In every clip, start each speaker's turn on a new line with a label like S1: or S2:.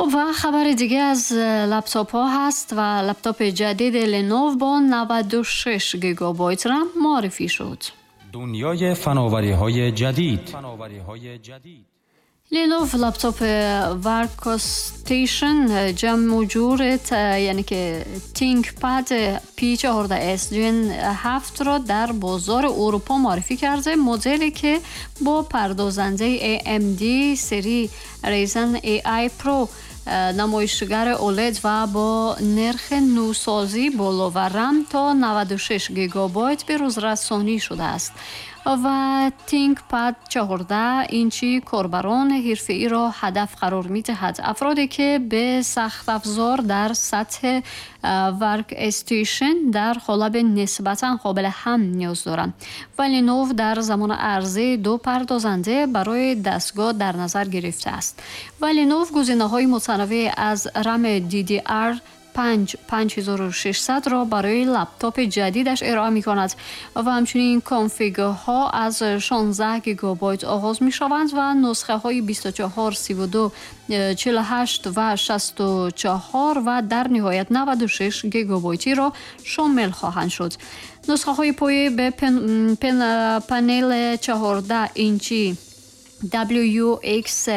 S1: خب و خبر دیگه از لپتاپ ها هست و لپتاپ جدید لنوو با 96 گیگابایت رم معرفی شد.
S2: دنیای فناوری های جدید.
S1: لینوو لپتاپ workstation جمع و جور یعنی که ThinkPad P14s Gen 7 را در بازار اروپا معرفی کرده. مدلی که با پردازنده AMD سری Ryzen AI Pro، نمایشگر OLED و با نرخ نوسازی بالا و رم تا 96 گیگابایت به روز رسانی شده است و ThinkPad 14 اینچی کاربران حرفه‌ای را هدف قرار می‌دهد، افرادی که به سخت افزار در سطح workstation در قالب نسبتا قابل حمل نیاز دارند. و لینوو در زمان عرضه دو پردازنده برای دستگاه در نظر گرفته است و لینوو گزینه‌های متنوع از رم DDR 5 5600 را برای لپتاپ جدیدش ارائه می کند و همچنین config ها از 16 گیگابایت آغاز می شوند و نسخه های 24، 32، 48 و 64 و در نهایت 96 گیگابایتی را شامل خواهند شد. نسخه های پایه به پنل 14 اینچی WUXGA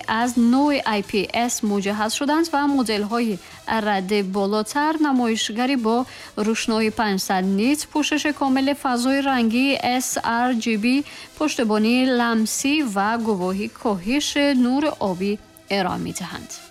S1: از نوع IPS مجهز شدند و مدل های رده بالاتر نمایشگری با روشنایی 500 nit، پوشش کامل فضای رنگی sRGB، پشتیبانی لمسی و گواهی کاهش نور آبی ارائه می دهند.